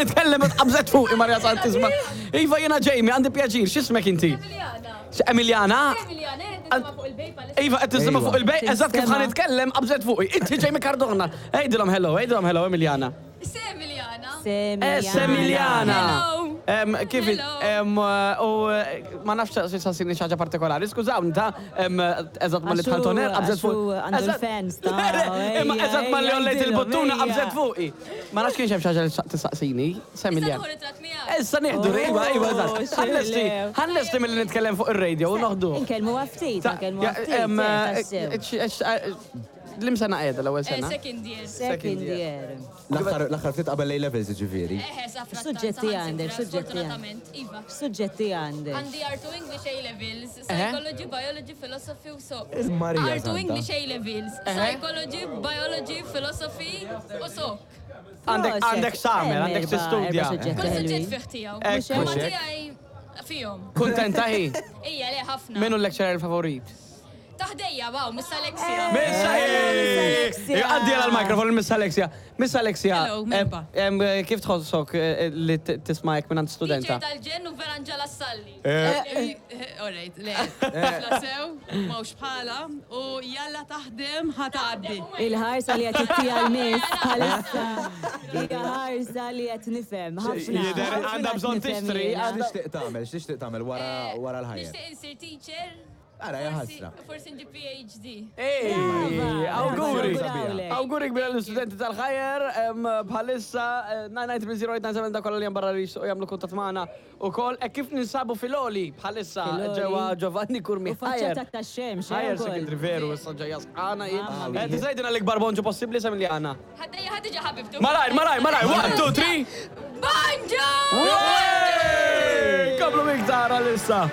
ħa nitkellem qabżet fuqi Marja Santissima. Iva jiena Jamie, għandi pjaċir, x'ismek inti? Emiliana. Emiliana? Emiliana, qed tisma' fuq il-bej bħalissa. Iva qed tisma' fuq il-bej, eżatt kif ħa Tinstema'. nitkellem qabżet fuqi. Inti Jamie Cardona. Għidilhom hello, għidilhom hello Emiliana. Se Emiliana. Semiliana. Hello. Em, Kif Hello. em, u eh, ma nafx se sassini xi ħaġa partikolari, skużawni ta' em, eżatt ma li Għax dħalt hu- on air qabżet għax fuq. hu għandu Eżatt- l-fans ta' Imma ejja, eżatt ma li ejja, għollejt għidilhom, il-buttuna ejja. qabżet fuqi. Ma nafx kienx hemm xi ħaġa li tistaqsini, Issa Semiliana. nieħu ritratt miegħek. Issa nieħdu, iva, iva, eżatt. Oh, Ħanlesti, xillew. ħanlesti milli nitkellem fuq ir-radio u noħdu. Inkellmu ftit, inkellmu Ja, ftit. em, eh, eh, tassew. eh, eh, Lim sena qiegħda l-ewwel Eh, sena? Second year. Second year. L-aħħar l-aħħar ftit qabel A levels ġifieri. Eħe, sa frattant, Suġġetti saħansitra, għandek, suġġetti Sfortunatament, iva. Suġġetti għandek. Għandi R2 English A levels, Psychology, Biology, Philosophy u so. Marija R2 Santa. English A levels, Psychology, Biology, Philosophy u so. Għandek Proset. għandek samer, Hemm għandek erba' tistudja. erba' suġġetti Kull suġġett ħelwin. fih tiegħu. Ekku. Imma Mhux hekk? tiegħi fihom. Kuntenta hi? Ija le ħafna. Min hu l-lecturer favorit? Taħdejja, wow, Miss Alexia. Miss Alexia! Għaddi għal mikrofon Miss Alexia. Miss Alexia, Hello, merħba. em, em, kif tħossok eh, li t- tisma' hekk minn studenta? Teacher tal-ġen u vera Angela Salli. Alright, le, tifla sew, mawx bħala, u jalla taħdem ħatgħaddi. Il-ħarsa li qed ittija l-miss bħalissa. Hija ħarsa li qed nifhem ħafna. Jidher ħafna għandha qed bżonn nifhem tixtri, jiena. għandha- X'tixtieq tagħmel? X'tixtieq tagħmel wara wara l-ħajja? Nixtieq insir teacher. Ara, hija Forsi- ħasra. Forsi nġib PhD. Ej, Brava, auguri! brava, Auguri kbira l-studenti tal-ħajer, em, bħalissa eh, 9930897 da kolla li barra li jixtiequ jagħmlu kuntatt magħna ukoll. E kif ninsabu fil-oli bħalissa Fil-Oli. ġewwa Giovanni Curmi U faċċata tax-xemx, eh, Ħajer ukoll. secondary veru, issa ġejja sqana jien. Mamma Eh, mia. Tisajdina l-ikbar bonġu possibbli Semiliana. Ħaddejja ħadiġa ħabibtu. Malajr, malajr, malajr, 1, 2, 3. Bonġu! Komplu miktar għalissa.